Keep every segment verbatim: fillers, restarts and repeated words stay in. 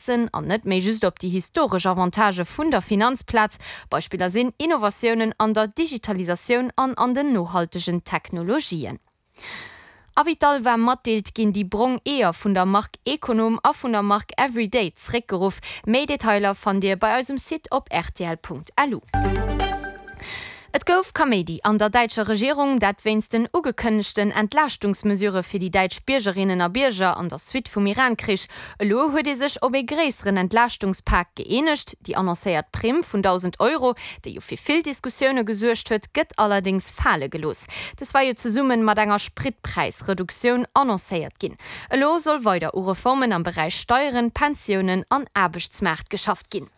setzen an net méi just op déi historesch Avantagë vun der Finanzplaz. Beispiller sinn Innovatiounen an der Digitalisatioun an an den nohaltegen Technologien. Avital war matdeelt ginn déi brong Eeër vun der Mark Econom a vun der Mark Everyday zréckgeruff. Méi Detailer fannt Dir bei eisem Site op rtl.lu. Et gouf Kaméidi an der däitscher Regierung, dat wéinst den ugekënnegten Entlaaschtungsmesurë fir déi däitsch Biergerinnen a Bierger an der Suite vum Iran-Krich. Elo huet ee sech op ee gréisseren Entlaaschtungspak gëeenegt. Déi annoncéiert Primm vun dausend Euro, déi jo fir vill Diskussioune gesuergt huet, gëtt allerdéngs fale gelooss. Dës war jo zesumme mat enger Spritpräisreduktioun annoncéiert ginn. Elo soll weider u Reformen am Beräich Steieren, Pensiounen an Aarbechtsmaart geschafft ginn.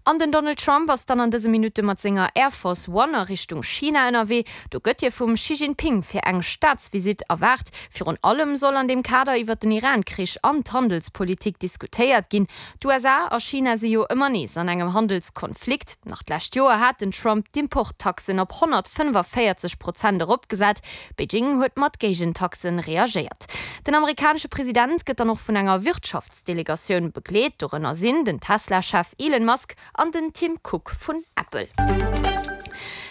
An den Donald Trump ass dann an dëse Minutte mat senger Air Force One a Richtung China ënnerwee. Do gëtt hie vum Xi Jinping fir eng Staatsvisitt erwaart. Virun allem soll an deem Kader iwwer den Iran-Krich an d'Handelspolitik diskutéiert ginn. D'U S A a China si jo ëmmer nees an engem Handelskonflikt. Nach d'lescht Joer hat den Trump d'Importtaxen op honnertfënnefaféierzeg Prozent eropgesat. Beijing huet mat Géigentaxe reagéiert. Den amerikanesche President gëtt dann och vun enger Wirtschaftsdelegatioun begleet. Dorënner sinn den Tesla-Chef Elon Musk an den Tim Cook vun Apple.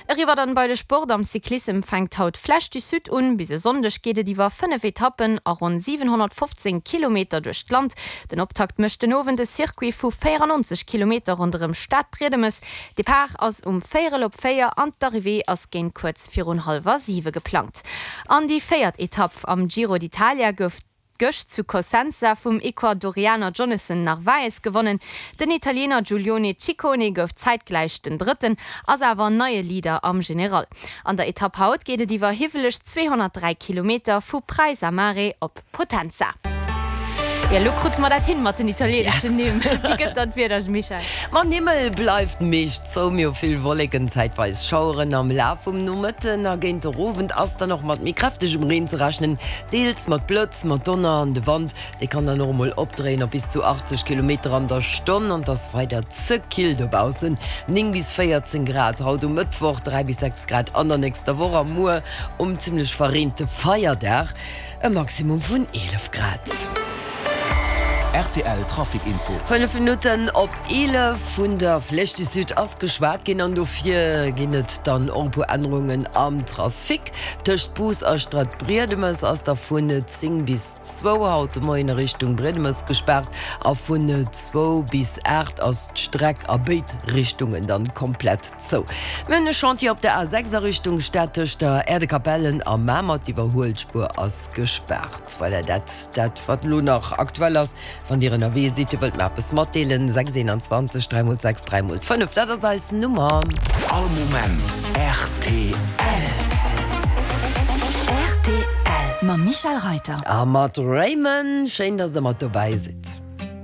Eriwwer dann bei de Sport. Am Cyclissem fänkt haut d'Flèche du Sud un. Bis e Sonndeg geet et iwwer fënnef Etappen a ronn siwenhonnertfofzéng Kilometer duerch d'Land. Den Optakt mécht den Owend e Circuit vu véierannonzeg Kilometer ronderëm Stadbriedemes. Depart ass um véierel op véier an d'Arrivée ass géint kuerz virun hallwer siwe geplangt. An déi véiert Etapp am Giro d'Italia gouf gëscht zu Cosenza vum Ecuadorianer Jonathan Narvaez gewonnen. Den Italiener Giulione Ciccone gouf zäitgläich den Drëtten, ass awer neie Leader am General. An der Etapp haut geet et iwwer hiwweleg zweehonnertdräi Kilometer vu Praisa Mare op Potenza. Jo, elo krute mer dat hin mat den italieneschen Nimm. Wéi gëtt dann d'Wieder, Michèle? Ma den Himmel bleift meescht zou, mir hu vill Wolleken, zäitweis Schaueren. Am Laf vum Nomëtten a géint der Owend ass dann och mat méi kräftegem Reen ze rechnen, deels mat Blëtz, mat Donner an de Wand, dee kann dann och emol opdréien op bis zu achtzeg Kilometer an der Stonn. An et ass weider ze kill dobaussen, néng bis véierzéng Grad haut um Mëttwoch, dräi bis sechs Grad an der nächster Woch a muer um zimmlech verreente Feierdag e Maximum vun eelef Grad. R T L Trafic Info. Fënnef Minutten op eelef. Vun der Flèche du Sud ass geschwat ginn an dofir ginn et dann och e puer Ännerungen am Trafic. Tëscht Bous a Stadbriedemes ass da vun zéng bis zwou haut de Moien a Richtung Briedemes gespaart a vun zwou bis aacht ass d'Streck a béid Richtungen dann komplett zou. Mir hunn e Chantier op der A sechs a Richtung Stad tëscht der Aire de Capellen a Mamer. D'Iwwerhuelspuer ass gespaart. Voilà, dat dat wat elo nach aktuell ass. Wann Dir ënnerwee sidd, Dir wëllt mer eppes matdeelen, sechs eenanzwanzeg dräi mol sechs dräi mol fënnef, dat ass eis Nummer. All Moment R T L. R T L mam Michèle Reiter. A mat Raymond. Schéin, dass Der mat dobäi sidd.